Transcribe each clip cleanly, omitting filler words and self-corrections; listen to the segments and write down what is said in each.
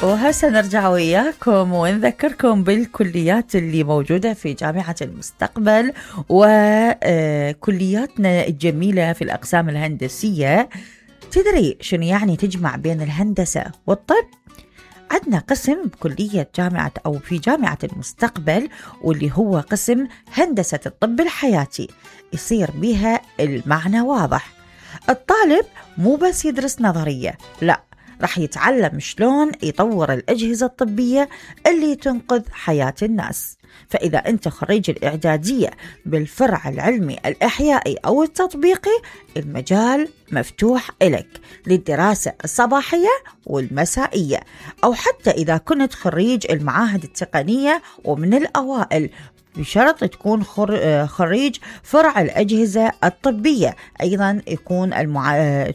وهسه نرجع وياكم ونذكركم بالكليات اللي موجودة في جامعة المستقبل وكلياتنا الجميلة في الأقسام الهندسية. تدري شنو يعني تجمع بين الهندسة والطب؟ عندنا قسم بكلية جامعة أو في جامعة المستقبل واللي هو قسم هندسة الطب الحياتي، يصير بها المعنى واضح. الطالب مو بس يدرس نظرية، لا، رح يتعلم شلون يطور الأجهزة الطبية اللي تنقذ حياة الناس. فإذا أنت خريج الإعدادية بالفرع العلمي الإحيائي أو التطبيقي، المجال مفتوح إلك للدراسة الصباحية والمسائية، أو حتى إذا كنت خريج المعاهد التقنية ومن الأوائل، بشرط تكون خريج فرع الأجهزة الطبية، أيضا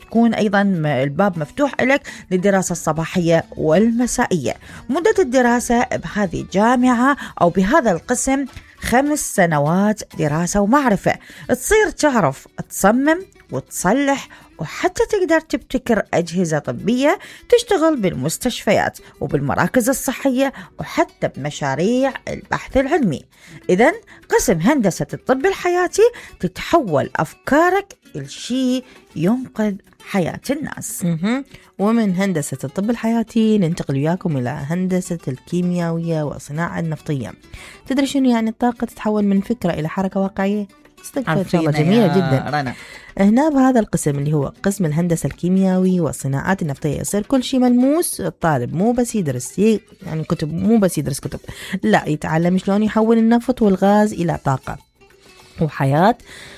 تكون أيضا الباب مفتوح لك للدراسة الصباحية والمسائية. مدة الدراسة بهذه الجامعة أو بهذا القسم 5 سنوات دراسة ومعرفة، تصير تعرف تصمم وتصلح وحتى تقدر تبتكر أجهزة طبية تشتغل بالمستشفيات وبالمراكز الصحية وحتى بمشاريع البحث العلمي. إذن قسم هندسة الطب الحياتي تتحول أفكارك لشيء ينقذ حياة الناس. ومن هندسة الطب الحياتي ننتقل وياكم إلى هندسة الكيميائية والصناعة النفطية. تدري شنو يعني الطاقة تتحول من فكرة إلى حركة واقعية؟ صدق إن شاء الله جميلة جدا. رنا. هنا بهذا القسم اللي هو قسم الهندسة الكيميائي والصناعات النفطية يصير كل شيء ملموس. الطالب مو بس يدرس يعني كتب، مو بس يدرس كتب، لا، يتعلم شلون يحول النفط والغاز إلى طاقة وحياة.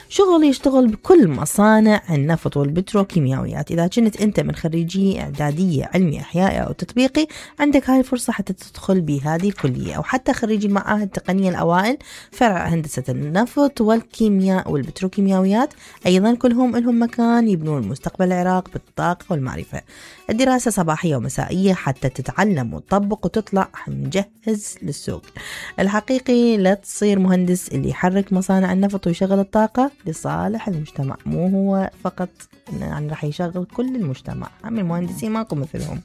شغل يشتغل بكل مصانع النفط والبتروكيماويات. إذا كنت أنت من خريجي إعدادية علمي إحيائي أو تطبيقي، عندك هاي الفرصة حتى تدخل بهذه الكلية، أو حتى خريجي المعاهد التقنية الأوائل فرع هندسة النفط والكيمياء والبتروكيماويات، أيضا كلهم لهم مكان يبنون مستقبل العراق بالطاقة والمعرفة. الدراسة صباحية ومسائية حتى تتعلم وتطبق وتطلع مجهز للسوق الحقيقي. لا تصير مهندس اللي يحرك مصانع النفط ويشغل الطاقة لصالح المجتمع، مو هو فقط يعني راح يشغل كل المجتمع. عم المهندسين ماكو مثلهم.